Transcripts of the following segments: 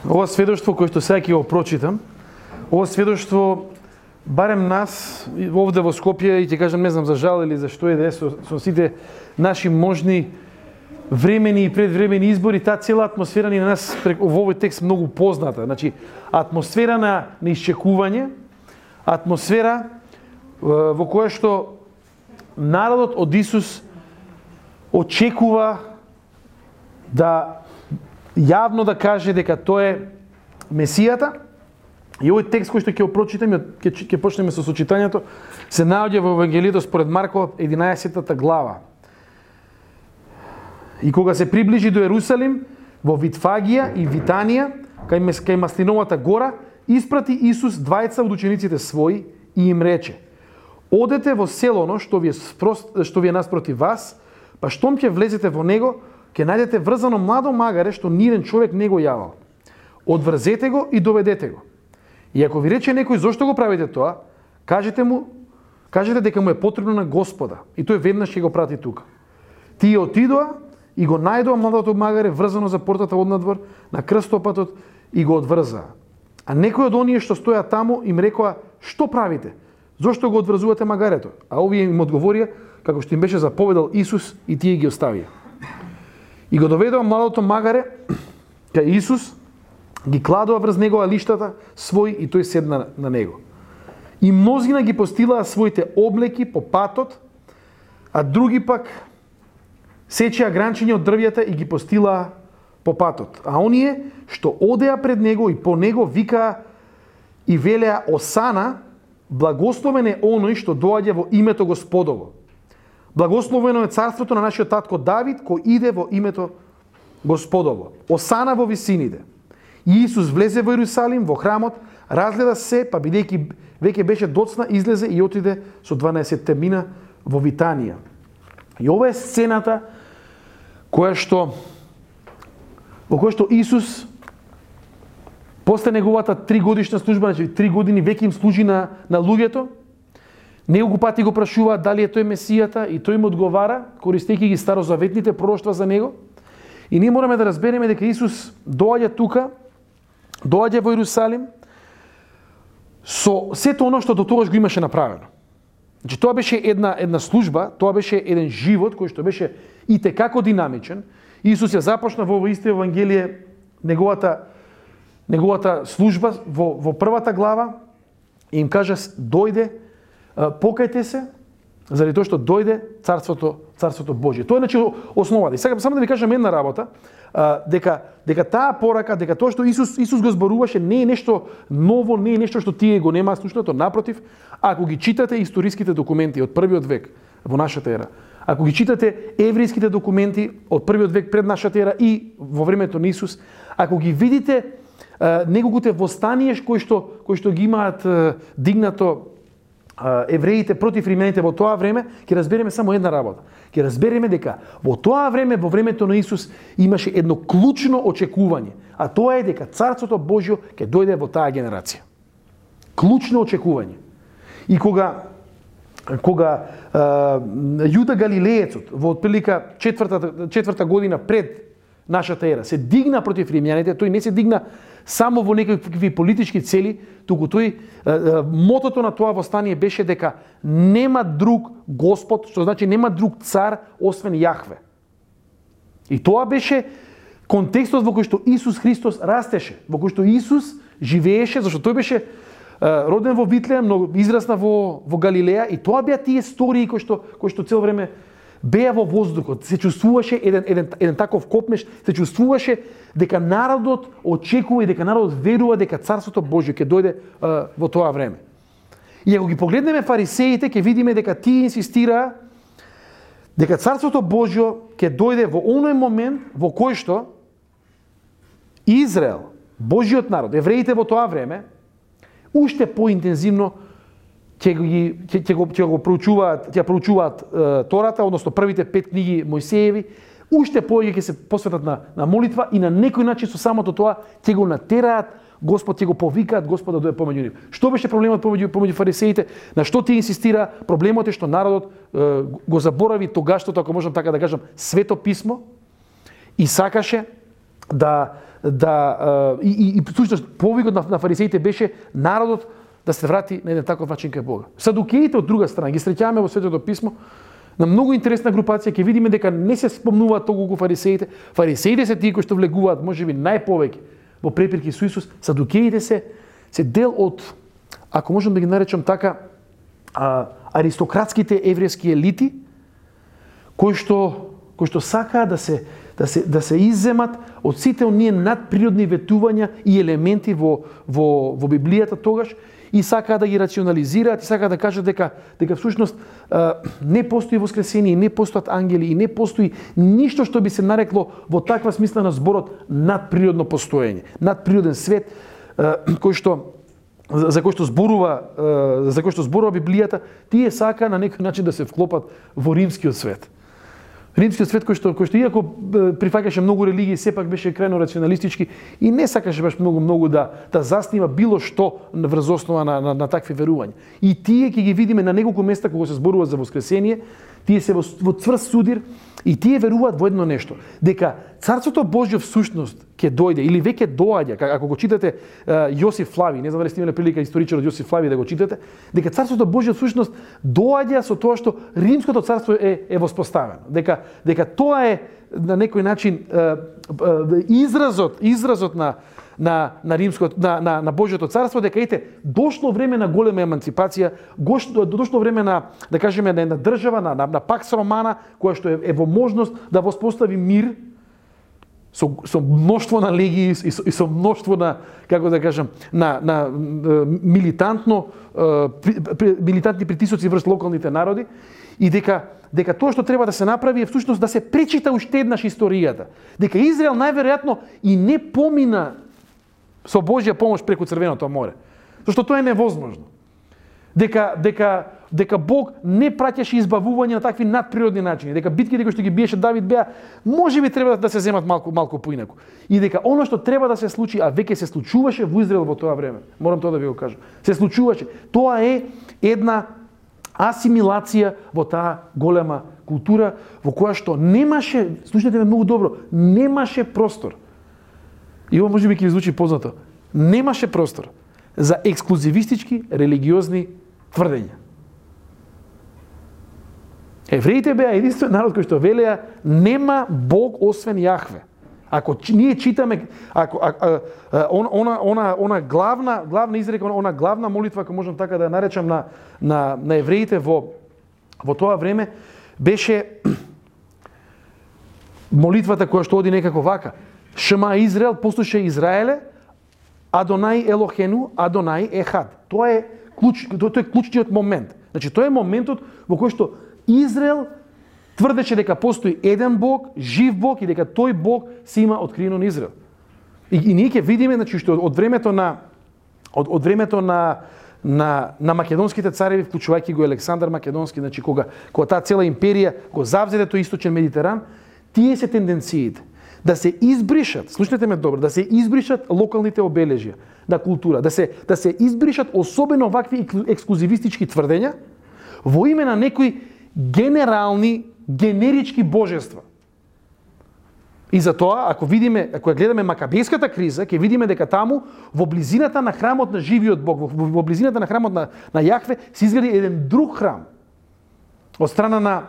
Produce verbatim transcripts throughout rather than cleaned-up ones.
Ова сведоштво кој што сега ќе го прочитам, ова сведоштво барем нас овде во Скопје, и ќе кажам не знам за жал или за што е да е со, со сите наши можни времени и предвремени избори, таа цела атмосфера ни на нас во овој текст многу позната. Значи, атмосфера на, на исчекување, атмосфера во која што народот од Исус очекува да јавно да каже дека тој е Месијата. И овој текст кој што ќе го прочитаме, ќе ќе почнеме со сочитањето, се наоѓа во Евангелието според Марко единаесеттата глава. И кога се приближи до Ерусалим, во Витфагија и Витанија, кај кај Маслиновата гора, испрати Исус двајца од учениците своји и им рече: Одете во селоно што ви е што ви е наспроти вас, па штом ќе влезете во него, ќе најдете врзано младо магаре што ниден човек не го јавал. Одврзете го и доведете го. И ако ви рече некој зошто го правите тоа, кажете му, кажете дека му е потребно на Господа, и тој веднаш ќе го прати тука. Тие отидоа и го најдоа младото магаре врзано за портата однадвор на крстопатот и го одврзаа. А некој од оние што стоја таму им рекоа: Што правите? Зошто го одврзувате магарето? А овие им одговорија како што им беше заповедал Исус, и тие ги оставија. И го доведоа младото магаре кај Исус, ги кладоа врз негова лиштата свој и тој седна на него. И мнозина ги постилаа своите облеки по патот, а други пак сечеа гранчиња од дрвјата и ги постилаа по патот. А оние што одеа пред него и по него викаа и велеа: Осана, благословен е оној што доаѓа во името Господово. Благословено е царството на нашиот татко Давид, кој иде во името Господово. Осана во висините. И Исус влезе во Ерусалим, во храмот, разгледа се, па бидејќи веќе беше доцна, излезе и отиде со дванаесетте мина во Витанија. И ова е сцената која што во која што Исус после неговата три годишна служба, значи три години веќе им служи на на луѓето. Неколку пати го прашуваат дали е тој Месијата и тој им одговара, користејќи ги старозаветните пророштва за него. И ние мораме да разбереме дека Исус доаѓа тука, доаѓа во Ерусалим со сето оно што до тогаш го имаше направено. Значи тоа беше една една служба, тоа беше еден живот кој што беше и текако динамичен. Исус ја започна во овој исто Евангелие неговата неговата служба во во првата глава и им кажа: дојде, покајте се, заради тоа што дојде царството царството Божје. Тоа е значи основата. И сега само да ви кажам една работа, дека дека таа порака, дека тоа што Исус Исус го зборуваше не е нешто ново, не е нешто што тие го немаат слушнато, напротив, ако ги читате историските документи од првиот век во нашата ера, ако ги читате еврејските документи од првиот век пред нашата ера и во времето на Исус, ако ги видите неколкуте востанија кои што кои што ги имаат дигнато евреите против римјаните во тоа време, ќе разбереме само една работа. Ќе разбереме дека во тоа време, во времето на Исус, имаше едно клучно очекување, а тоа е дека Царството Божјо ќе дојде во таа генерација. Клучно очекување. И кога кога е, Јуда Галилеецот во отприлика четвртата четврта година пред нашата ера се дигна против римјаните, тој не се дигна само во некакви политички цели, туку тој е, е, мотото на тоа востание беше дека нема друг Господ, што значи нема друг цар освен Јахве. И тоа беше контекстот во кој што Исус Христос растеше, во кој што Исус живееше, зашто тој беше е, роден во Витлеем, но израсна во во Галилеја, и тоа беа тие истории кои што кои што цел време беа во воздухот, се чувствуваше еден, еден, еден таков копнеш, се чувствуваше дека народот очекува и дека народот верува дека Царството Божјо ќе дојде uh, во тоа време. И ако ги погледнеме фарисеите, ќе видиме дека тие инсистираа дека Царството Божјо ќе дојде во оној момент во кој што Израел, Божјиот народ, евреите во тоа време, уште поинтензивно ќе ги ќе ќе го ќе го проучуваат, ќе проучуваат е, Тората, односно првите пет книги Мојсееви, уште повеќе ќе се посветат на на молитва и на некој начин со самото тоа ќе го натераат Господ, ќе го повикаат Господа да дојде помеѓу нив. Што беше проблемот помеѓу помеѓу фарисеите? На што тие инсистира? Проблемот е што народот е, го заборави тогашното, ако можам така да кажам, свето писмо и сакаше да да и и, и всушност повикот на, на фарисеите беше народот да се врати на еден таков начин кај Бога. Садукеите од друга страна ги среќаваме во Светото писмо на многу интересна групација, ќе видиме дека не се спомнуваат толку фарисеите. Фарисеите се тие кои што влегуваат можеби најповеќе во препирки со Исус. Садукеите се се дел од, ако можам да ги наречам така, а, аристократските еврејски елити кои што кои што сакаат да се да се да се изземат од сите оние надприродни ветувања и елементи во во во Библијата тогаш, и сакаат да ги рационализираат, и сакаат да кажат дека дека всушност не постои воскресение, не постојат ангели и не постои ништо што би се нарекло во таква смисла на зборот надприродно постоење, надприроден свет кој што за кој што зборува за кој што зборува Библијата, тие сака на некој начин да се вклопат во римскиот свет. Римскиот свет кој што кој што иако прифаќаше многу религии, сепак беше крајно рационалистички и не сакаше баш многу многу да да заснива било што врз основа на, на, на такви верувања. И тие ќе ги видиме на неколку места кога се зборува за воскресение, тие се во, во цврст судир и тие веруваат во едно нешто, дека Царството Божјо всушност ќе дојде или веќе доаѓа, ако го читате Јосиф Флави, не знам дали сте имале прилика историчарот Јосиф Флави да го читате, дека Царството Божјо всушност доаѓа со тоа што Римското царство е е воспоставено, дека дека тоа е на некој начин изразот изразот на на на римското на на на Божјото царство, дека ете дошло време на голема еманципација, дошло време на да кажеме на една држава на на, на пакс романа која што е, е во можност да воспостави мир со со мноштво на легии и со, и со мноштво на, како да кажам, на на милитантно при, при, милитантни притисоци врз локалните народи, и дека дека тоа што треба да се направи е всушност да се пречита уште еднаш историјата, дека Израел најверојатно и не помина со Божја помош преку Црвеното море, зашто тоа е невозможно. Дека дека дека Бог не праќаше избавување на такви надприродни начини, дека битките кои што ги биеше Давид беа можеби треба да се земат малку малку поинаку. И дека оно што треба да се случи, а веќе се случуваше во Израел во тоа време. Морам тоа да ви го кажам. Се случуваше. Тоа е една асимилација во таа голема култура во која што немаше, слушнете ме многу добро, немаше простор. И ово можеби ќе ви звучи познато. Немаше простор за ексклузивистички религиозни тврдења. Евреите беа единствен народ кој што велеа нема Бог освен Јахве. Ако ние читаме, ако а, а, а, она она она главна главна изрека, она главна молитва, ако можам така да ја наречам, на на на евреите во во тоа време беше молитвата која што оди некако вака: Шма Израел, послушај Израеле, Адонај Елохену, Адонај Ехад. Тоа е клуч, тоа е клучниот момент. Значи тоа е моментот во кој што Израел тврдеше дека постои еден Бог, жив Бог, и дека тој Бог се има откриено на Израел. И, и ние ќе видиме, значи, што од времето на од, од времето на на на македонските цареви, вклучувајќи го Александар Македонски, значи кога кога таа цела империја го завзеде тој источен Медитеран, тие се тенденциите да се избришат, слушнете ме добро, да се избришат локалните обележја на култура, да се да се избришат особено вакви ексклузивистички тврдења во име на некои генерални, генерички божества. И затоа, ако видиме, ако ја гледаме Макабејската криза, ќе видиме дека таму во близината на храмот на живиот Бог, во, во близината на храмот на на Јахве се изгради еден друг храм од страна на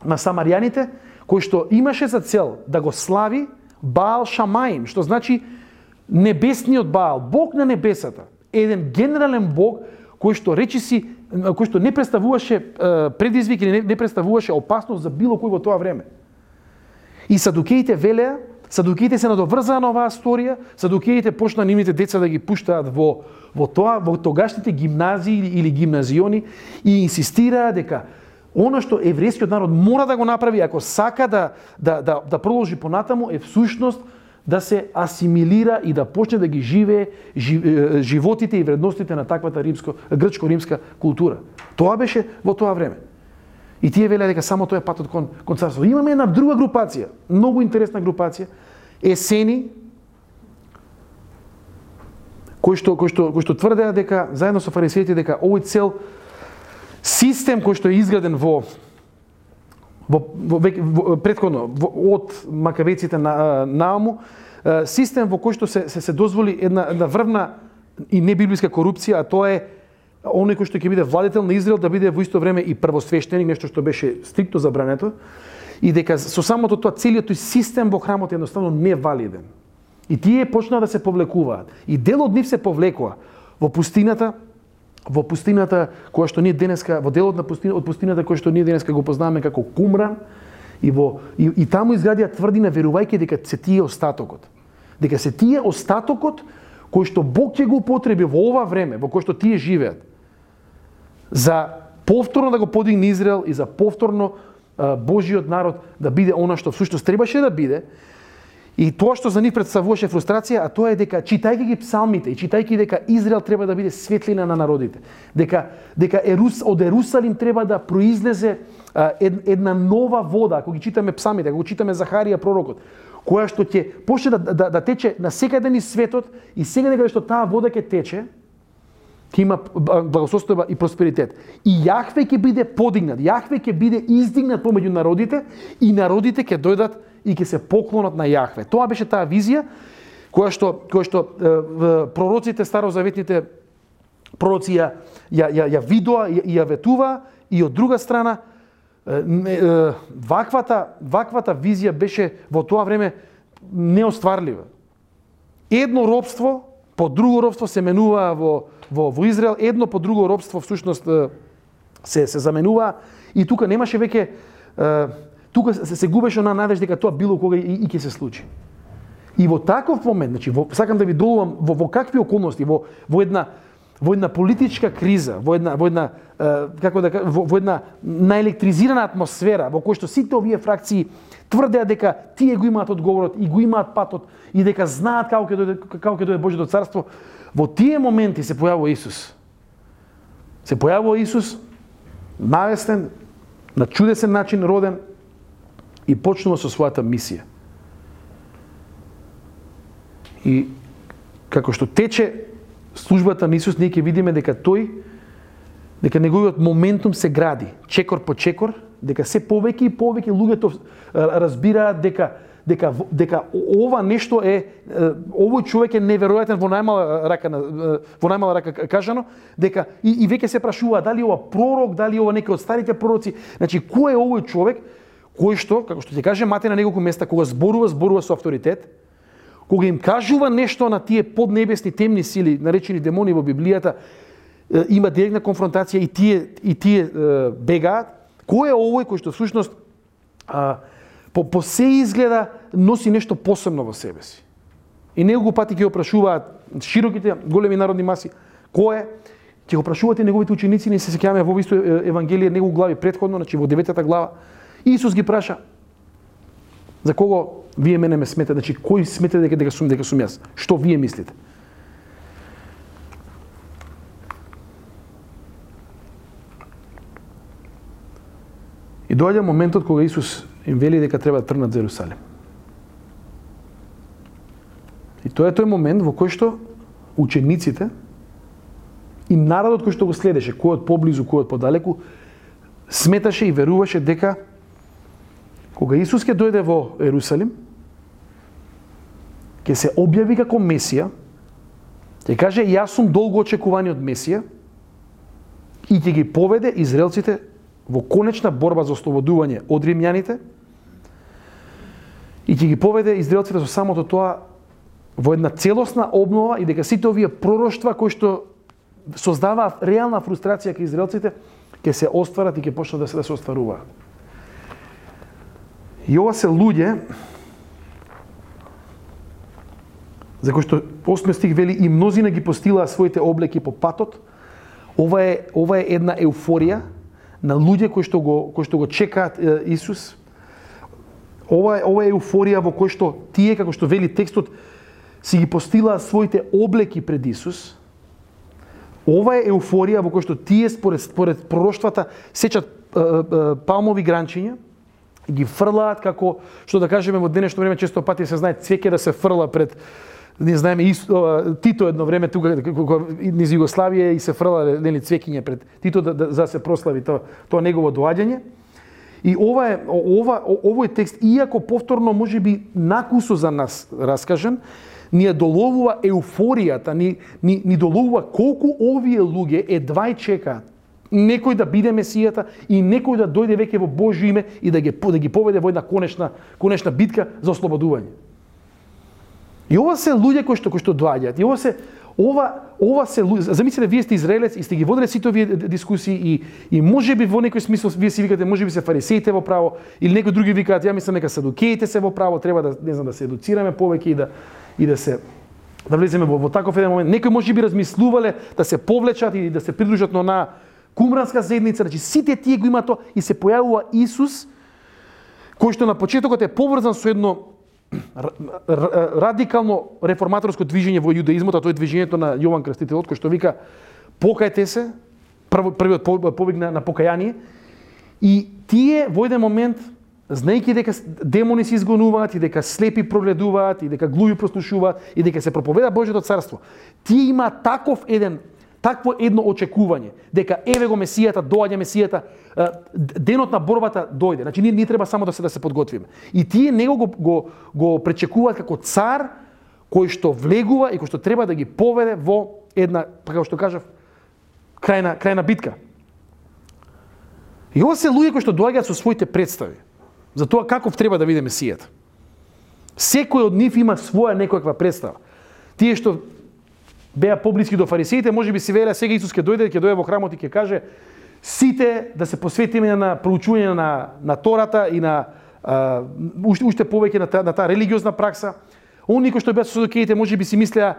на самаријаните, кој што имаше за цел да го слави Баал Шамаим, што значи небесниот Баал, Бог на небесата, еден генерален Бог кој што речиси, кој што не представуваше предизвик или не, не представуваше опасност за било кој во тоа време. И садукеите велеа, садукеите се надоврзаа на оваа сторија, садукеите почнаа нивните деца да ги пуштаат во во тоа, во тогашните гимназии или, или гимназиони, и инсистираа дека оно што еврејскиот народ мора да го направи ако сака да да да, да продолжи понатаму е всушност да се асимилира и да почне да ги живее животите и вредностите на таквата римско грчко-римска култура. Тоа беше во тоа време. И тие велеа дека само тоа е патот кон кон царство. Имаме една друга групација, многу интересна групација, есени, кои што кои што кои што тврдеа дека заедно со фарисеите дека овој цел систем кој што е изграден во во, во, во претходно во, од макавеците на Нааму систем во кој што се се, се дозволи една една врвна и небиблиска корупција, а тоа е оној кој што ќе биде владетел на Израел да биде во исто време и првосвештеник, нешто што беше стриктно забрането, и дека со самото тоа целиот тој систем во храмот е едноставно невалиден. И тие почнаа да се повлекуваат. И дел од нив се повлекува во пустината, во пустината која што ние денеска, во делот на пустината, од пустината која што ние денеска го познаваме како Кумран, и во и, и таму изградија тврдина верувајќи дека се тие остатокот. Дека се тие остатокот кој што Бог ќе го употреби во ова време, во кој што тие живеат, за повторно да го подигне Израел и за повторно а, Божиот народ да биде она што всушност требаше да биде. И тоа што за нив представуваше фрустрација, а тоа е дека читајќи ги псалмите и читајќи дека Израел треба да биде светлина на народите, дека дека Ерус, од Ерусалим треба да произлезе а, ед, една нова вода, ако ги читаме псалмите, ако го читаме Захарија пророкот, која што ќе почне да, да, да тече на секаде низ светот и секаде каде што таа вода ќе тече, ќе има благосостојба и просперитет. И Јахве ќе биде подигнат, Јахве ќе биде издигнат помеѓу народите и народите ќе дојдат и ќе се поклонат на Јахве. Тоа беше таа визија која што која што е, пророците старозаветните пророци ја ја ја, ја видоа и ја ветува, и од друга страна е, е, ваквата ваквата визија беше во тоа време неостварлива. Едно робство по друго робство се менува во во во Израел, едно по друго робство всушност се се заменува, и тука немаше веќе тука се, се губеше на надеж дека тоа било кога и, и ќе се случи. И во таков момент, значи, во, сакам да ви долувам во, во какви околности, во, во една во една политичка криза, во една во една е, како да во, во една наелектризирана атмосфера во која што сите овие фракции тврдеа дека тие го имаат одговорот и го имаат патот и дека знаат како ќе дојде како ќе дојде Божјото царство, во тие моменти се појавува Исус. Се појавува Исус навестен, на чудесен начин роден, и почнува со својата мисија. И како што тече службата на Исус, ние ќе видиме дека тој, дека неговиот моментум се гради, чекор по чекор, дека се повеќе и повеќе луѓето разбираат дека дека дека ова нешто е, овој човек е неверојатен во најмала рака во најмала рака кажано, дека и, и веќе се прашува дали ова пророк, дали ова некој од старите пророци, значи кој е овој човек кој што, како што ќе каже Матеј на неколку места, кога зборува, зборува со авторитет, кога им кажува нешто на тие поднебесни темни сили, наречени демони во Библијата, има директна конфронтација и тие и тие бегаат. Кој е овој кој што всушност а, по, по се изгледа носи нешто посебно во себе си? И неколку пати ќе го прашуваат широките големи народни маси, кој е? Ќе го прашуваат и неговите ученици, не се сеќаваме во исто евангелие неколку глави претходно, значи во деветата глава. Исус ги праша: за кого вие мене ме сметате, значи кој сметате дека дека сум дека сум јас? Што вие мислите? И доаѓа моментот кога Исус им вели дека треба да тргнат за Ерусалим. И тоа е тој момент во кој што учениците и народот кој што го следеше, кој од поблизу, кој од подалеку, сметаше и веруваше дека кога Исус ќе дојде во Ерусалим, ќе се објави како Месија, ќе каже јас сум долго очекуваниот Месија и ќе ги поведе израелците во конечна борба за ослободување од римјаните и ќе ги поведе израелците со самото тоа во една целосна обнова, и дека сите овие пророштва кои што создаваат реална фрустрација кај израелците ќе се остварат и ќе почнат да се да се остваруваат. И ова се луѓе за кои што осми стих вели и мнозина ги постилаа своите облеки по патот. Ова е ова е една еуфорија на луѓе кои што го кои што го чекаат е, Исус. Ова е ова е еуфорија во кој што тие, како што вели текстот, си ги постилаа своите облеки пред Исус. Ова е еуфорија во кој што тие според според пророштвата сечат е, е, палмови гранчиња и ги фрлаат, како што да кажеме во денешно време често пати се знае цвеќе да се фрла пред, не знаеме, Тито едно време тука низ Југославија и се фрла нели цвеќиња пред Тито да, да за да се прослави тоа тоа негово доаѓање. И ова е ова овој текст, иако повторно можеби накусо за нас раскажан, ни ја доловува еуфоријата, ни, ни, ни доловува колку овие луѓе едва и чекаат некој да биде Месијата и некој да дојде веќе во Божјо име и да ги, да ги поведе во една конечна, конечна битка за ослободување. И ова се луѓе кои што, кои што доаѓаат. И ова се ова ова се луѓе. Замислете, вие сте израелец и сте ги воделе сите овие дискусии и и можеби во некој смисол вие си викате можеби се фарисеите во право или некои други викаат ја мислам нека садукеите се во право, треба да не знам да се едуцираме повеќе и да и да се да влеземе во, во таков еден момент. Некои можеби размислувале да се повлечат и да се придружат на онаа кумранска заедница, значи сите тие го има тоа и се појавува Исус кој што на почетокот е поврзан со едно радикално реформаторско движење во јудаизмот, а тоа е движењето на Јован Крстителот кој што вика покајте се, првиот повик на, на покаяние, и тие во еден момент, знаејќи дека демони се изгонуваат и дека слепи прогледуваат и дека глуви прослушуваат и дека се проповеда Божјото царство, тие има таков еден такво едно очекување, дека еве го Месијата, доаѓа Месијата, денот на борбата дојде. Значи ние не треба само да се да се подготвиме. И тие него го го, го пречекуваат како цар кој што влегува и кој што треба да ги поведе во една, како што кажав, крајна крајна битка. И ова се луѓе кои што доаѓаат со своите представи за тоа каков треба да биде Месијата. Секој од нив има своја некоја представа. Тие што беа поблиски до фарисеите, можеби си велеа сега Исус ќе дојде, ќе дојде во храмот и ќе каже сите да се посветиме на проучување на на Тората и на а, уште, уште повеќе на таа на таа религиозна пракса. Оние кои што беа со садукеите можеби си мислеа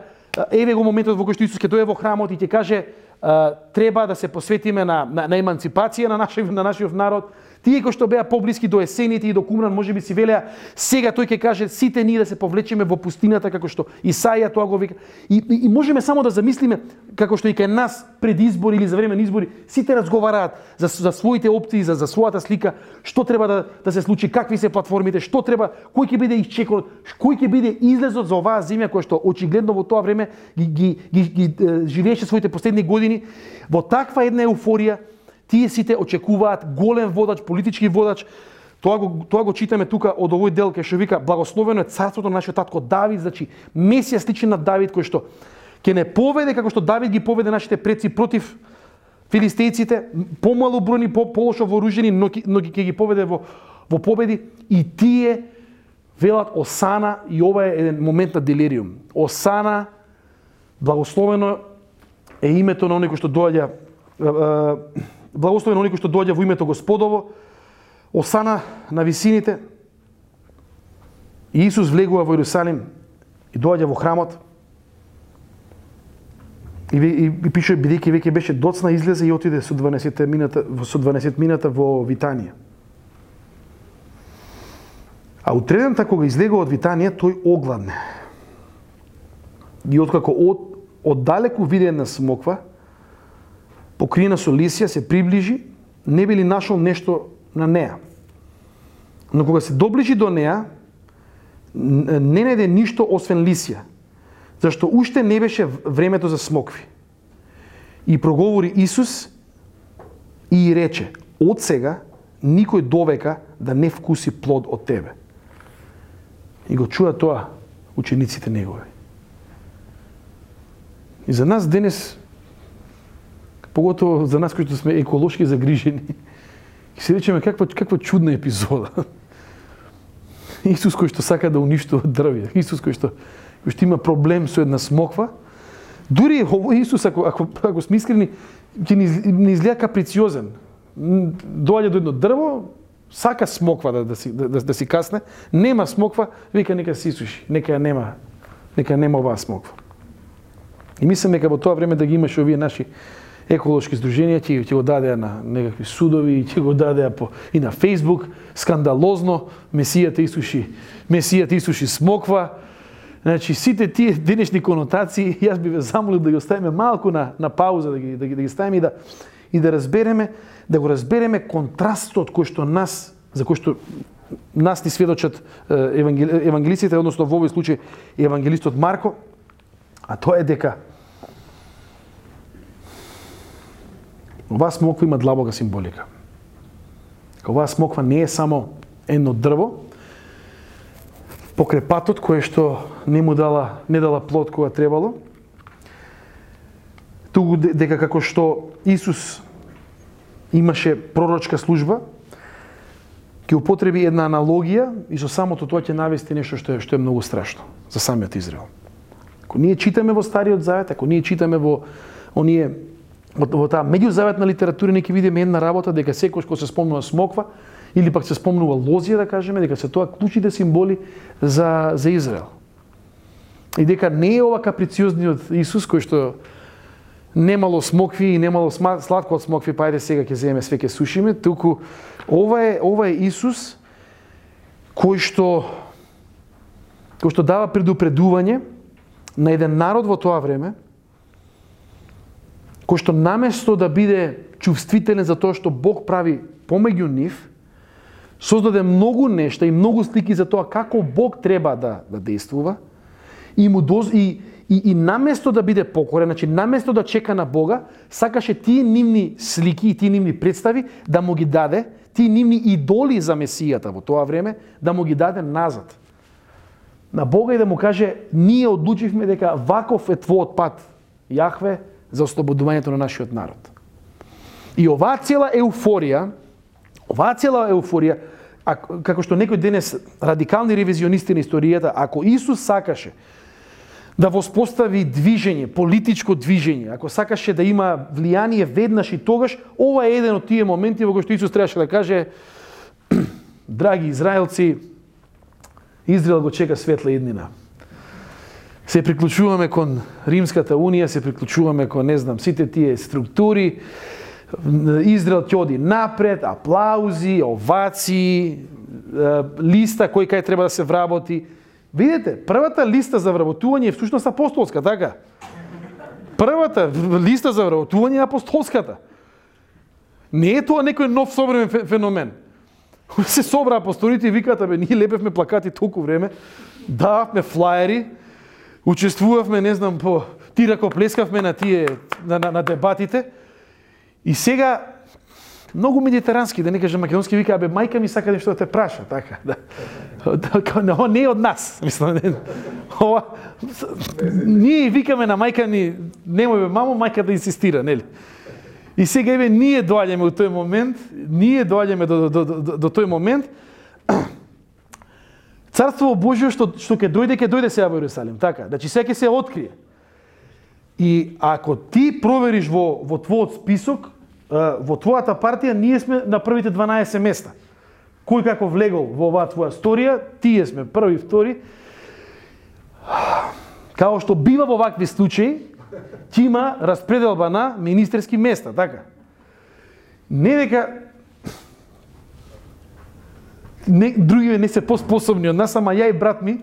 еве го моментот во кој што Исус ќе дојде во храмот и ќе каже а, треба да се посветиме на на, на еманципација на нашиот на нашиот народ. Тие кои што беа поблиски до есените и до Кумран, можеби си велеа сега тој ќе каже сите ние да се повлечеме во пустината како што Исаија тоа го вика. И, и, и можеме само да замислиме како што и кај нас пред избори или за време на избори сите разговараат за, за своите опции, за, за својата слика, што треба да, да се случи, какви се платформите, што треба, кој ќе биде исчекорот, кој ќе биде излезот за оваа земја која што очигледно во тоа време ги, ги, ги, ги, ги живееше своите последни години во таква една еуфорија. Тие сите очекуваат голем водач, политички водач. Тоа го тоа го читаме тука од овој дел кај што вика благословено е царството на нашиот татко Давид, значи Месија сличен на Давид кој што ќе не поведе како што Давид ги поведе нашите предци против филистејците, помалу бројни, по, полошо вооружени, но, но ќе ги поведе во во победи и тие велат Осана и ова е еден момент на делириум. Осана, благословено е името на оној кој што доаѓа благословен оној кој што доаѓа во името Господово, Осана на висините. И Исус влегува во Иерусалим и доаѓа во храмот. И, и, и пише бидејќи веќе беше доцна излезе и отиде со дванаесет мината со дванаесет мината во Витанија. А утредента кога излегува од Витанија, тој огладне. И откако од оддалеку виде една смоква покриена со лисја, се приближи, не би ли нашол нешто на неа. Но кога се доближи до неа, не најде ништо освен лисја, зашто уште не беше времето за смокви. И проговори Исус и рече, од сега никој довека да не вкуси плод од тебе. И го чуа тоа учениците негови. И за нас денес, поготово за нас кои што сме еколошки загрижени, ќе се речеме каква каква чудна епизода. Исус кој што сака да уништува дрвја, Исус кој што кој што има проблем со една смоква, дури овој Исус ако ако ако сме искрени, ќе ни, ни изгледа каприциозен. Доаѓа до едно дрво, сака смоква да да си да, да, да си касне, нема смоква, вика нека се исуши, нека ја нема, нека нема оваа смоква. И мислам дека во тоа време да ги имаш овие наши еколошки здруженија, ќе ќе го дадеа на некакви судови, ќе го дадеа по и на Facebook, скандалозно, Месијата исуши, Месијата исуши смоква. Значи сите тие денешни конотации, јас би ве замолил да ги оставиме малку на на пауза, да ги да ги, да ги ставиме и да и да разбереме, да го разбереме контрастот кој што нас, за кој што нас ни сведочат евангели, евангелистите, односно во овој случај евангелистот Марко, а тоа е дека оваа смоква има длабока символика. Оваа смоква не е само едно дрво, покрај патот кое што не му дала, не дала плод кога требало, туку дека како што Исус имаше пророчка служба, ќе употреби една аналогија и со самото тоа ќе навести нешто што е, што е многу страшно за самиот Израел. Ако ние читаме во Стариот Завет, ако ние читаме во оние во, во таа меѓузаветна литература, ние ќе видиме една работа дека секој кога се спомнува смоква или пак се спомнува лозија, да кажеме, дека се тоа клучните символи за за Израел. И дека не е ова каприциозниот Исус кој што немало смокви и немало сладко од смокви, па ајде сега ќе земеме све ќе сушиме, туку ова е ова е Исус кој што кој што дава предупредување на еден народ во тоа време, кој што наместо да биде чувствителен за тоа што Бог прави помеѓу нив, создаде многу нешта и многу слики за тоа како Бог треба да да действува и му доз и И, и наместо да биде покорен, значи наместо да чека на Бога, сакаше тие нивни слики и тие нивни представи да му ги даде, тие нивни идоли за Месијата во тоа време, да му ги даде назад. На Бога и да му каже, ние одлучивме дека ваков е твојот пат, Јахве, за ослободувањето на нашиот народ. И оваа цела еуфорија, оваа цела еуфорија, а, како што некои денес радикални ревизионисти на историјата, ако Исус сакаше да воспостави движење, политичко движење, ако сакаше да има влијание веднаш и тогаш, ова е еден од тие моменти во кои што Исус требаше да каже: драги израелци, Израел го чека светла иднина. Се приклучуваме кон Римската унија, се приклучуваме кон, не знам, сите тие структури. Израел ќе оди напред, аплаузи, овации, листа кој кај треба да се вработи. Видете, првата листа за вработување е всушност апостолска, така? Првата листа за вработување е апостолската. Не е тоа некој нов современ феномен. Се собра апостолите и викаат: абе, ние лепевме плакати толку време, дававме флаери, учествувавме, не знам, по ти ракоплескавме на тие на, на, на дебатите. И сега многу медитерански, да не кажам македонски, вика: абе, мајка ми сака нешто да те праша, така, да. Ова не е од нас, мислам. Ова, ние викаме на мајка ни, немој бе, мамо, мајка да инсистира, нели? И сега, еве, ние доаѓаме во тој момент, ние доаѓаме до, до, до, до тој момент, Царство Божјо што, што ќе дојде, ќе дојде сега во Јерусалим, така, значи сега ќе се открие. И ако ти провериш во, во твојот список, во твојата партија, ние сме на првите дванаесет места. Кој како влегол во оваа твоја сторија, тие сме први, втори. Као што бива во вакви случаи, ќе има распределба на министерски места, така. Не дека не, други не се поспособни од нас, ама ја и брат ми,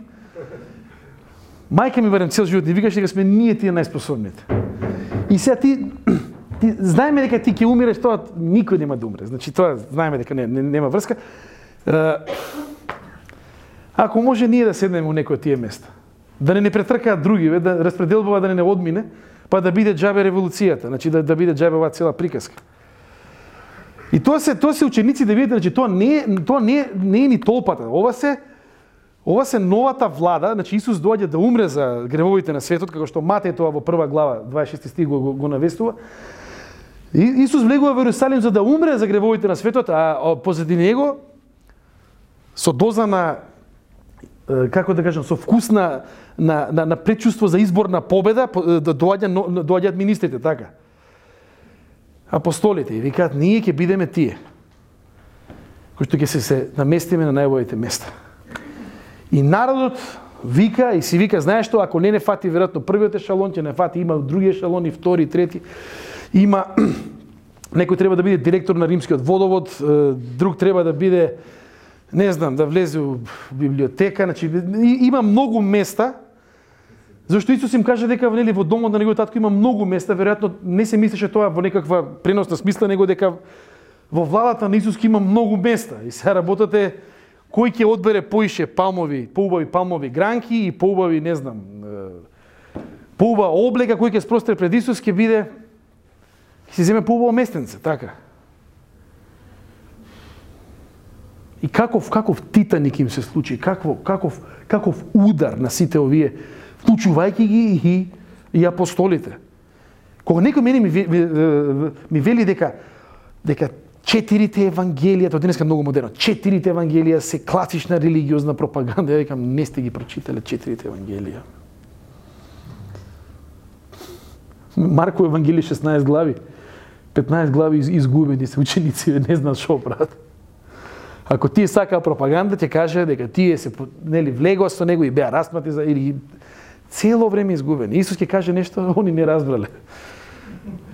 мајка ми барем цел живот ни викаше дека сме ние тие најспособните. И сега ти Ти, знаеме дека ти ќе умиреш, тоа никој нема да умре. Значи тоа знаеме дека не, не, нема врска. Е, ако може ние да седнеме у некој од тие места, да не не претркаат други, да распределбава да не не одмине, па да биде џабе револуцијата, значи да да биде џабе оваа цела приказка. И тоа се тоа се ученици да видите, значи тоа не е тоа не е, не е ни толпата. Ова се ова се новата влада, значи Исус доаѓа да умре за гревовите на светот, како што Матеј тоа во прва глава дваесет и шести стих го, го, го навестува. И Исус влегува во Јерусалим за да умре за гревовите на светот, а позади него со доза на, како да кажам, со вкус на на на, на предчувство за изборна победа, да доаѓа доаѓаат министрите, така. Апостолите и викаат: ние ќе бидеме тие кои што ќе се, се наместиме на најубавите места. И народот вика и си вика: знаеш што, ако не не фати веројатно првиот ешалон, ќе не фати, има други ешалони, втори, трети. Има некој треба да биде директор на римскиот водовод, друг треба да биде, не знам, да влезе во библиотека, значи има многу места. Зашто Исус им каже дека нели во домот на неговиот татко има многу места, веројатно не се мислеше тоа во некаква преносна смисла, него дека во владата на Исус има многу места. И сега работата е кој ќе одбере поише палмови, поубави палмови гранки и поубави, не знам, поубава облека кој ќе спростре пред Исус, ќе биде ќе се земе поубаво местенце, така. И каков каков титаник им се случи, каков каков каков удар на сите овие, вклучувајќи ги и и апостолите. Кога некој мене ми, ми, ми вели дека дека четирите евангелија, тоа денеска многу модерно, четирите евангелија се класична религиозна пропаганда, ја викам не сте ги прочитале четирите евангелија. Марко евангелие шеснаесет глави, петнаесет глави изгубени се ученици, не знаат што прават. Ако тие сакаа пропаганда, ќе каже дека тие се нели влегоа со него и беа распнати за или цело време изгубени. Исус ќе каже нешто, они не разбрале.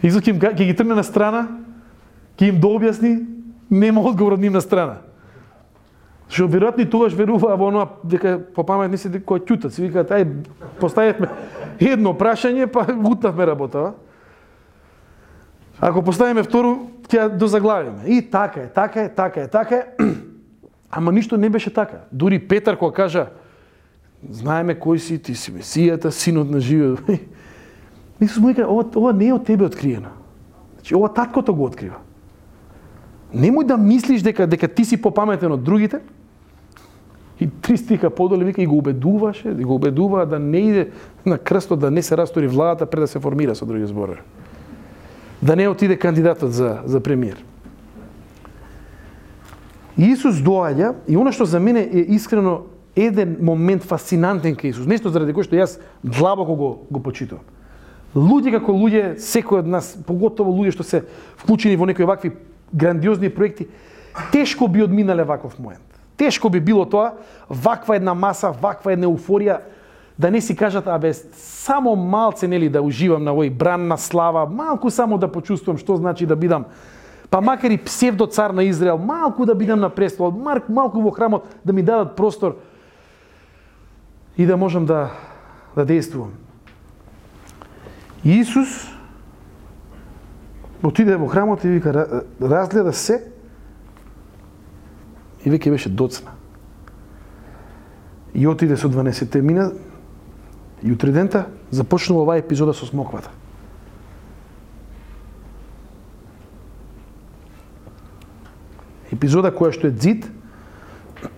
Исус ќе ќе ги трне на страна, ќе им дообјасни, нема одговор од нивна страна. Што веројатно и тогаш веруваа во оноа дека попаметни се дека ќутат, се викаат ај поставивме едно прашање, па утнавме работа. Ако поставиме второ, ќе дозаглавиме. И така е, така е, така е, така е. Ама ништо не беше така. Дури Петар кога кажа знаеме кој си, ти си Месијата, синот на живиот. Исус му вика, ова, ова не е од тебе откриено. Значи, ова таткото го открива. Немој да мислиш дека дека ти си попаметен од другите. И три стиха подоле вика и го убедуваше, и го убедува да не иде на крстот, да не се растори владата пред да се формира, со други зборови. Да не отиде кандидатот за за премиер. Исус доаѓа и она што за мене е искрено еден момент фасцинантен кај Исус, нешто заради кој што јас длабоко го го почитувам. Луѓе како луѓе, секој од нас, поготово луѓе што се вклучени во некои вакви грандиозни проекти, тешко би одминале ваков момент. Тешко би било тоа, ваква една маса, ваква една еуфорија, да не си кажат, абе, само малце, нели, да уживам на овој бран на слава, малку само да почувствувам што значи да бидам, па макар и псевдо цар на Израел, малку да бидам на престол, малку во храмот, да ми дадат простор и да можам да, да действувам. Исус отиде во храмот и вика, разгледа се и веќе беше доцна. И отиде со дванаесетте мина и утре дента започнува оваа епизода со смоквата. Епизода која што е дзид,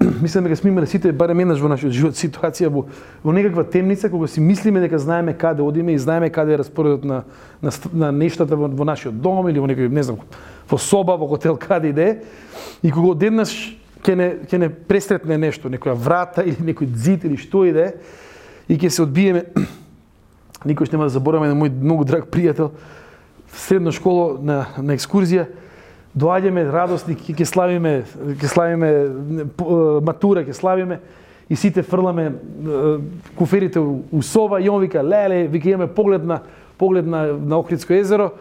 мислам дека сме имале сите барем еднаш во нашиот живот ситуација во, во некаква темница кога си мислиме дека знаеме каде одиме и знаеме каде е распоредот на, на, на нештата во, во нашиот дом или во некој, не знам, во соба, во хотел, каде иде, и кога одеднаш ќе не ќе не пресретне нешто, некоја врата или некој ѕид или што иде, и ќе се одбиеме. Никош нема да забораваме на мој многу драг пријател средна школа на на екскурзија. Доаѓаме радосни, ќе славиме, ќе славиме матура, ќе славиме и сите фрламе куферите у соба и он вика леле, вика имаме поглед на поглед на на Охридско езеро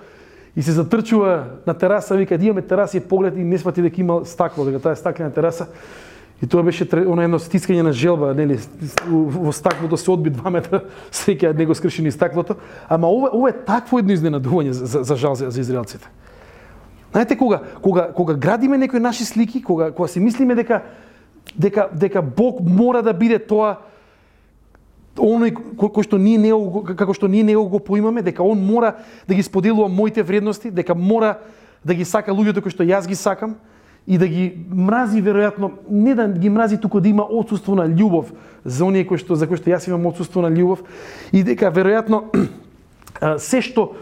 и се затрчува на тераса, вика имаме тераса и поглед и не свати дека има стакло, дека таа е стаклена тераса. И тоа беше оно едно стискање на желба, нели, во стаклото се одби два метра, среќа него скршени стаклото, ама ова ова е такво едно изненадување за, за жал за, за израелците. Знаете, кога, кога, кога градиме некои наши слики, кога, кога си мислиме дека, дека, дека Бог мора да биде тоа, оној кој што ние не како што ние него го поимаме, дека он мора да ги споделува моите вредности, дека мора да ги сака луѓето кои што јас ги сакам и да ги мрази веројатно, не да ги мрази туку да има отсуство на љубов за оние кои што за кои што јас имам отсуство на љубов и дека веројатно се што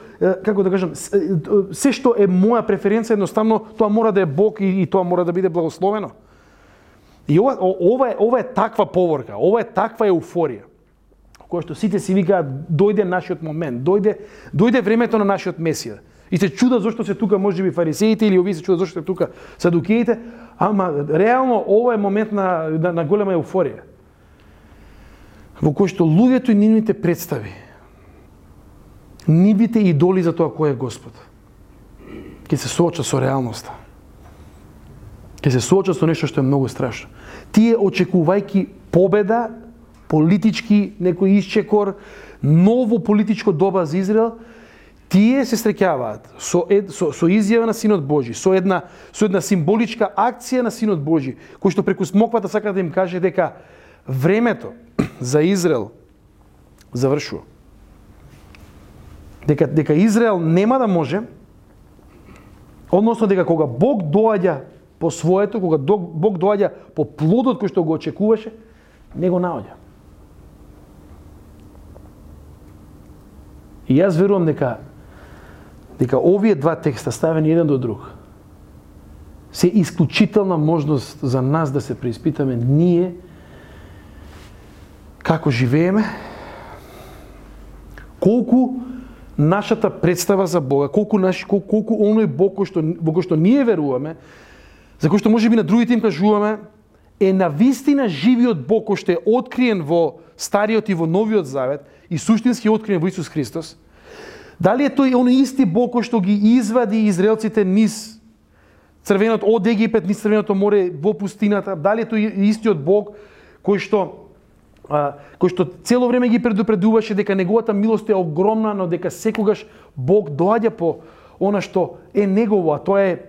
како да кажам, се што е моја преференција, едноставно тоа мора да е Бог и, и тоа мора да биде благословено. И ова ова е ова е таква поворка, ова е таква еуфорија. Која што сите си викаат дојде нашиот момент, дојде дојде времето на нашиот Месија. И се чудат зошто се тука можеби фарисеите или овие се чудат зошто се тука садукеите, ама реално ова е момент на на, на голема еуфорија. Во кој што луѓето и нивните представи, нивните идоли за тоа кој е Господ, ќе се соочат со реалноста. Ќе се соочат со нешто што е многу страшно. Тие очекувајќи победа, политички некој исчекор, ново политичко доба за Израел, тие се среќаваат со, ед, со, со изјава на Синот Божи, со една, со една символичка акција на Синот Божи, кој што преку смоквата сака да им каже дека времето за Израел завршува. Дека, дека Израел нема да може, односно дека кога Бог доаѓа по своето, кога Бог доаѓа по плодот кој што го очекуваше, не го наоѓа. И јас верувам дека дека овие два текста ставени еден до друг се исклучителна можност за нас да се преиспитаме ние како живееме, колку нашата представа за Бога, колку наш колку, колку оној Бог кој што во кој што ние веруваме, за кој што можеби на другите им кажуваме, е навистина живиот Бог кој што е откриен во Стариот и во Новиот Завет и суштински откриен во Исус Христос. Дали е тој оној исти Бог кој што ги извади израелците низ црвенот од Египет, низ Црвеното море во пустината? Дали е тој истиот Бог кој што а, кој што цело време ги предупредуваше дека неговата милост е огромна, но дека секогаш Бог доаѓа по она што е негово, а тоа е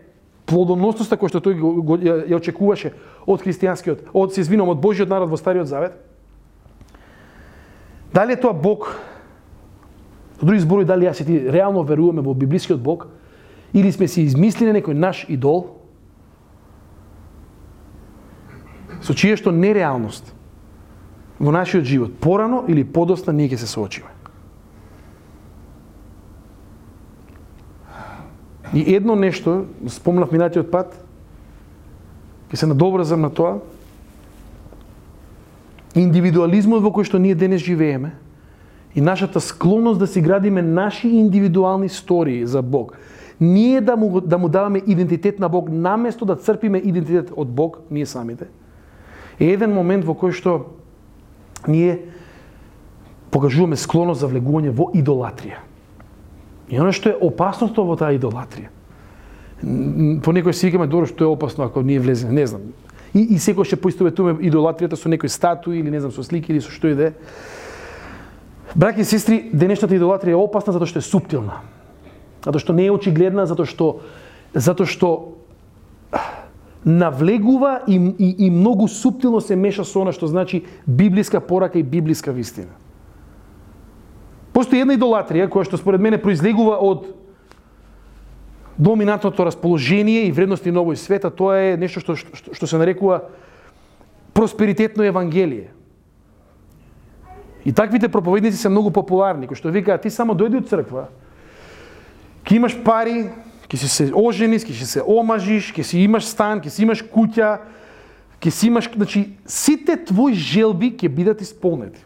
плодоносноста кој што тој го, го, ја, ја очекуваше од христијанскиот, од се извинувам, од Божјиот народ во Стариот Завет? Дали е тоа Бог? Со други зборови, дали јас и ти реално веруваме во библискиот Бог или сме си измислили некој наш идол со чие што нереалност во нашиот живот порано или подоцна ние ќе се соочиме. И едно нешто, спомнав минатиот пат, ќе се надобрзам на тоа, индивидуализмот во кој што ние денес живееме и нашата склонност да си градиме наши индивидуални истории за Бог, ние да му, да му даваме идентитет на Бог, наместо да црпиме идентитет од Бог, ние самите, е еден момент во кој што ние покажуваме склоност за влегување во идолатрија. И оно што е опасното во таа идолатрија. По некој си викаме, добро, што е опасно ако ние влеземе, не знам. И, и секој ќе поистоветуваме идолатријата со некој статуи или не знам со слики или со што и да е. Браќи и сестри, денешната идолатрија е опасна затоа што е суптилна. Затоа што не е очигледна, затоа што затоа што навлегува и, и, и многу суптилно се меша со она што значи библиска порака и библиска вистина. Постои една идолатрија која што според мене произлегува од доминантното расположение и вредности на овој свет, а тоа е нешто што, што, што се нарекува просперитетно евангелие. И таквите проповедници се многу популарни, кои што викаат, ти само дојди од црква, ќе имаш пари, ќе си се ожениш, ќе се омажиш, ќе си имаш стан, ќе си имаш куќа, ќе си имаш, значи, сите твои желби ќе бидат исполнети.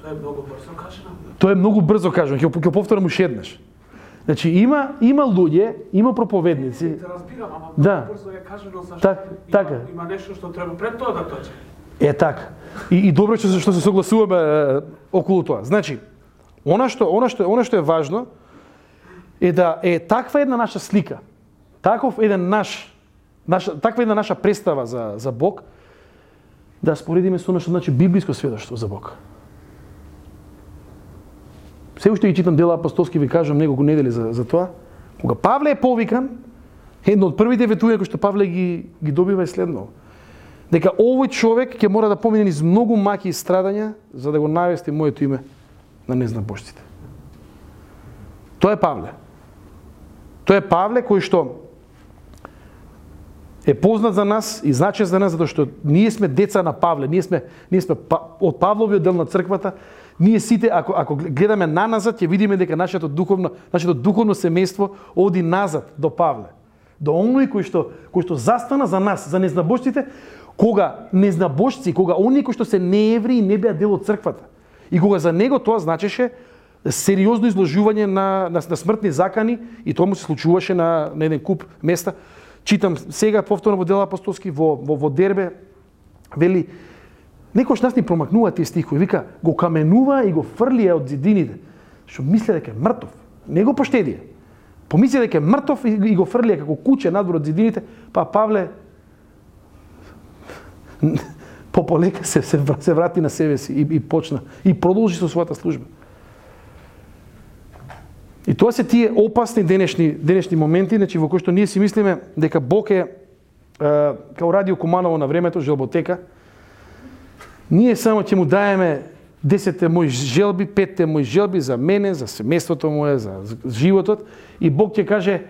Тоа е многу брзо кажано. Тоа е многу брзо кажано, ќе ќе повторам уште еднаш. Значи има има луѓе, има проповедници. Те разбирам, ама да. брзо е кажано зашто Так, има, така. има нешто што треба пред тоа да дојде. Е така. И, и добро што што се согласуваме е, околу тоа. Значи, она што она што она што е важно е да е таква една наша слика. Таков еден наш наша таква една наша представа за за Бог да споредиме со она што значи библиско сведоштво за Бог. Се уште ги читам дела апостолски, ви кажам неколку недели за, за тоа. Кога Павле е повикан, едно од првите ветувања кои што Павле ги, ги добива е следно. Дека овој човек ќе мора да помине низ многу маки и страдања за да го навести моето име на незнабожците. Тоа е Павле. Тоа е Павле кој што е познат за нас и значен за нас затоа што ние сме деца на Павле, ние сме ние сме од Павловиот дел на црквата. Ние сите, ако, ако гледаме наназад, ќе видиме дека нашето духовно, нашето духовно семејство оди назад до Павле. До оној кој што, кој што застана за нас, за незнабожците, кога незнабожци, кога оние кои што се неевреи не беа дел од црквата. И кога за него тоа значеше сериозно изложување на, на, на смртни закани, и тоа му се случуваше на, на еден куп места. Читам сега повторно во дела апостолски, во, во, во Дербе, вели, некојаш нас ни промакнува тие стихови, вика, го каменува и го фрлија од зидините, што мисле дека е мртов. Не го поштедија. Помисли дека е мртов и, и го фрлија како куче надвор од зидините, па Павле пополека се, се, се врати на себе си и, и почна и продолжи со својата служба. И тоа се тие опасни денешни денешни моменти, значи во кои што ние си мислиме дека Бог е, е као Радио Куманово на времето, желботека. Ние само ќе му даеме десетте мои желби, петте мои желби за мене, за семејството мое, за животот, и Бог ќе каже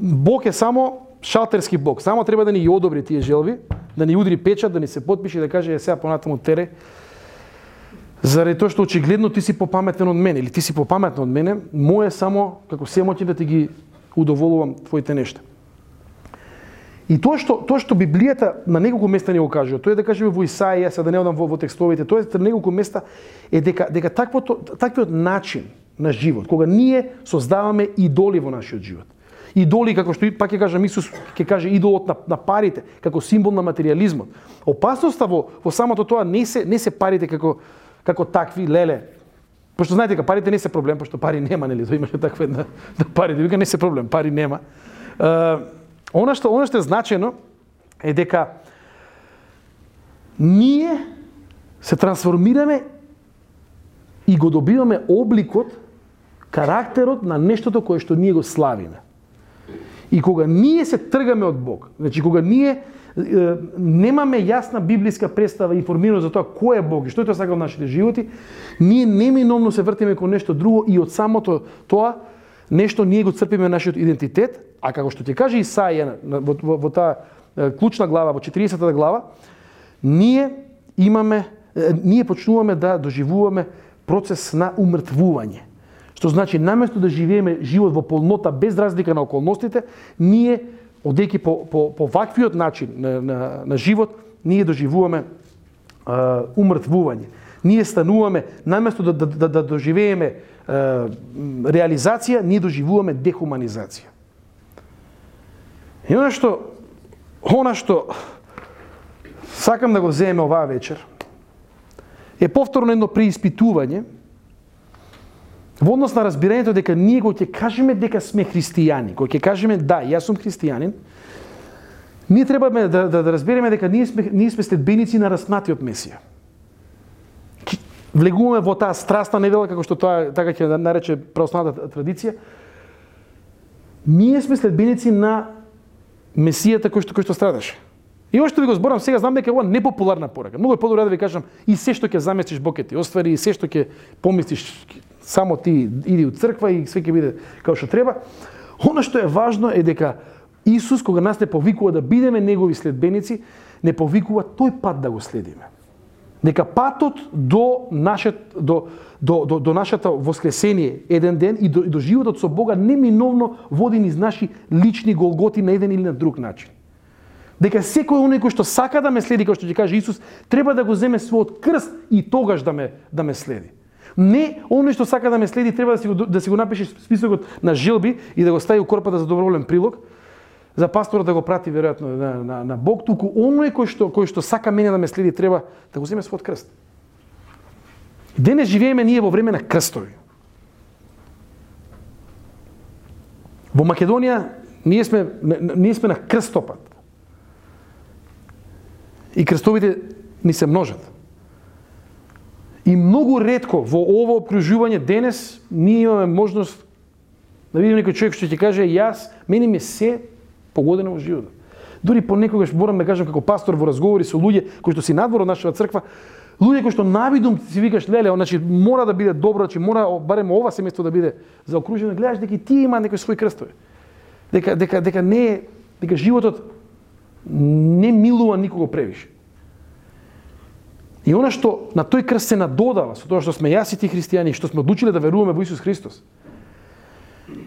Бог е само шалтерски Бог. Само треба да ни ги одобри тие желби, да ни удри печат, да ни се подпише и да каже е сега понатаму тере. Заради тоа што очигледно ти си попаметен од мене или ти си попаметна од мене, моje само како семоќи да ти ги удоволувам твоите нешта. И тоа што тоа што Библијата на неколку места ни го кажува, тоа е да кажеме во Исаија, сега да не одам во, во текстовите, тоа е на неколку места е дека дека таквото таквиот начин на живот, кога ние создаваме идоли во нашиот живот. Идоли, како што пак ќе кажам Исус, ќе каже идолот на, на парите, како символ на материјализмот. Опасноста во во самото тоа не се не се парите како како такви леле. Пошто знаете дека парите не се проблем, пошто пари нема, нели, тоа имаше таква една да парите, вика не се проблем, пари нема. Uh, Она што, она што е значено е дека ние се трансформираме и го добиваме обликот, карактерот на нештото кое што ние го славиме. И кога ние се тргаме од Бог, значи кога ние е, немаме јасна библиска представа и информираност за тоа кој е Бог и што е тоа сака во нашите животи, ние неминовно се вртиме кон нешто друго и од самото тоа нешто ние го црпиме нашиот идентитет, а како што ќе каже Исаија во, во, во таа клучна глава, во четиридесетата глава, ние имаме, ние почнуваме да доживуваме процес на умртвување. Што значи, наместо да живееме живот во полнота без разлика на околностите, ние, одејќи по, по, по ваквиот начин на, на, на живот, ние доживуваме а, умртвување. Ние стануваме, наместо да, да, да, да доживееме а, реализација, ние доживуваме дехуманизација. И она што, она што сакам да го земеме оваа вечер, е повторно едно преиспитување во однос на разбирањето дека ние кога ќе кажеме дека сме христијани, кога ќе кажеме да, јас сум христијанин, ние треба да, да, да разбереме дека ние сме, ние сме следбеници на распнатиот Месија. Влегуваме во таа страстна недела, како што тоа така ќе нарече православната традиција. Ние сме следбеници на Месијата кој што кој што страдаше. И ошто ви го зборам сега, знам дека ова непопуларна порака. Многу е подобро да ви кажам и се што ќе заместиш Бог ќе ти оствари, и се што ќе помислиш само ти иди у црква и све ќе биде како што треба. Она што е важно е дека Исус кога нас не повикува да бидеме негови следбеници, не повикува тој пат да го следиме. Дека патот до нашет до до до, до нашата воскресение еден ден и до, и до животот со Бога неминовно води низ наши лични голготи на еден или на друг начин. Дека секој оној кој што сака да ме следи, како што ќе каже Исус, треба да го земе својот крст и тогаш да ме да ме следи. Не оној што сака да ме следи треба да си го да си го напише списокот на желби и да го стави у корпата за доброволен прилог, за пасторот да го прати веројатно на, на, на Бог, туку оној кој што кој што сака мене да ме следи треба да го земе својот крст. Денес живееме ние во време на крстови. Во Македонија ние сме ние сме на крстопат. И крстовите ни се множат. И многу ретко во ово обкружување денес ние имаме можност да видиме некој човек што ќе каже јас, мене ми се погодено во животот. Дури понекогаш морам да кажам како пастор во разговори со луѓе кои што си надвор од нашата црква, луѓе кои што навидум си викаш леле, значи мора да биде добро, значи мора барем ова семејство да биде заокружено, гледаш дека ти има некои своји крстови. Дека дека дека не дека животот не милува никого превише. И она што на тој крст се надодава со тоа што сме јас и ти христијани, што сме одлучиле да веруваме во Исус Христос,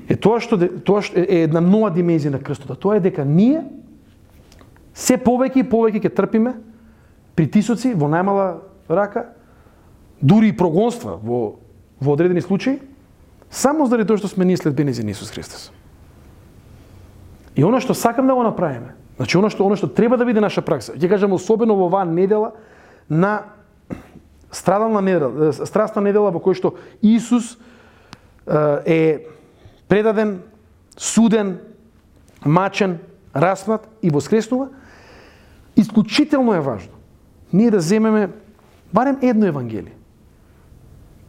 е тоа што тоа што е една нова димензија на крстот. Тоа е дека ние се повеќе и повеќе ќе трпиме притисоци во најмала рака, дури и прогонства во во одредени случаи, само заради тоа што сме ние следбеници на Исус Христос. И она што сакам да го направиме, значи она што она што треба да биде наша пракса, ќе кажам особено во оваа недела на страдална недела, страстна недела во која што Исус е предаден, суден, мачен, распнат и воскреснува, исклучително е важно ние да земеме барем едно евангелие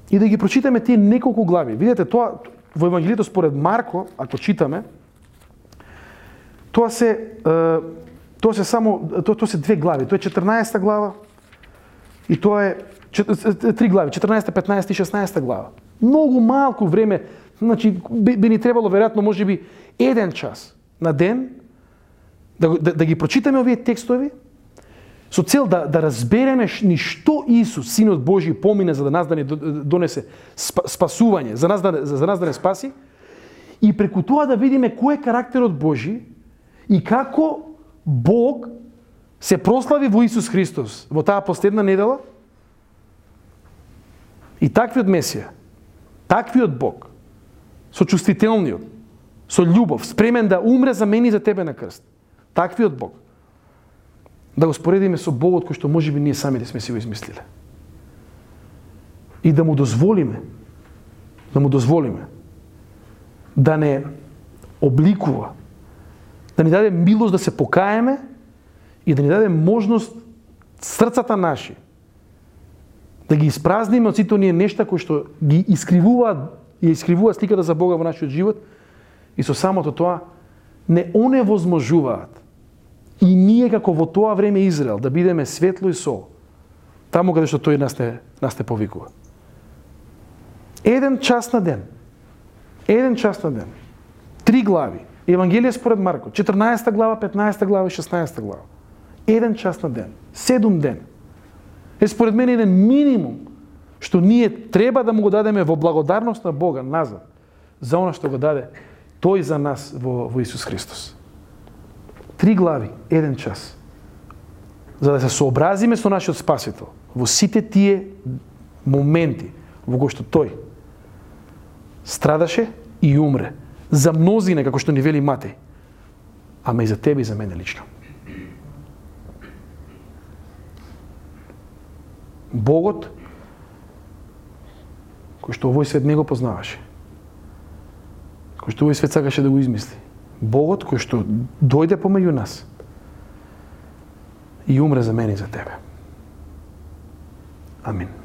и да ги прочитаме тие неколку глави. Видете, тоа во Евангелието според Марко, ако читаме, тоа се тоа се само тоа, тоа се две глави. Тоа е четрнаесета глава и тоа е три глави, четрнаесета, петнаесета и шеснаесета глава. Многу малку време, значи би, би ни требало веројатно можеби еден час на ден да, да, да ги прочитаме овие текстови со цел да, да разбереме ни што Исус, Синот Божи, помине за да нас да ни донесе спасување, за нас да, за нас да не спаси, и преку тоа да видиме кој е карактерот Божи и како Бог се прослави во Исус Христос во таа последна недела. И таквиот Месија, таквиот Бог, со чувствителниот, со љубов, спремен да умре за мене и за тебе на крст. Таквиот Бог. Да го споредиме со Богот кој што можеби ние самите сме си го измислиле. И да му дозволиме, да му дозволиме да не обликува, да ни даде милост да се покаеме и да ни даде можност срцата наши да ги испразниме од сите оние нешта кои што ги искривуваат и искривува сликата за Бога во нашиот живот и со самото тоа не оневозможуваат и ние како во тоа време Израел да бидеме светло и сол таму каде што тој нас не, нас не повикува. Еден час на ден. Еден час на ден. Три глави. Евангелие според Марко. четрнаесета глава, петнаесета глава и шеснаесета глава. Еден час на ден. Седум ден. Е според мене еден минимум што ние треба да му го дадеме во благодарност на Бога назад за она што го даде тој за нас во, во Исус Христос. Три глави, еден час. За да се сообразиме со нашиот Спасител во сите тие моменти во кои што тој страдаше и умре за мнозина, како што ни вели Матеј, ама и за тебе и за мене лично. Богот, кој што овој свет не го познаваше, кој што овој свет сакаше да го измисли, Богот кој што дојде помеѓу нас и умре за мене и за тебе. Амин.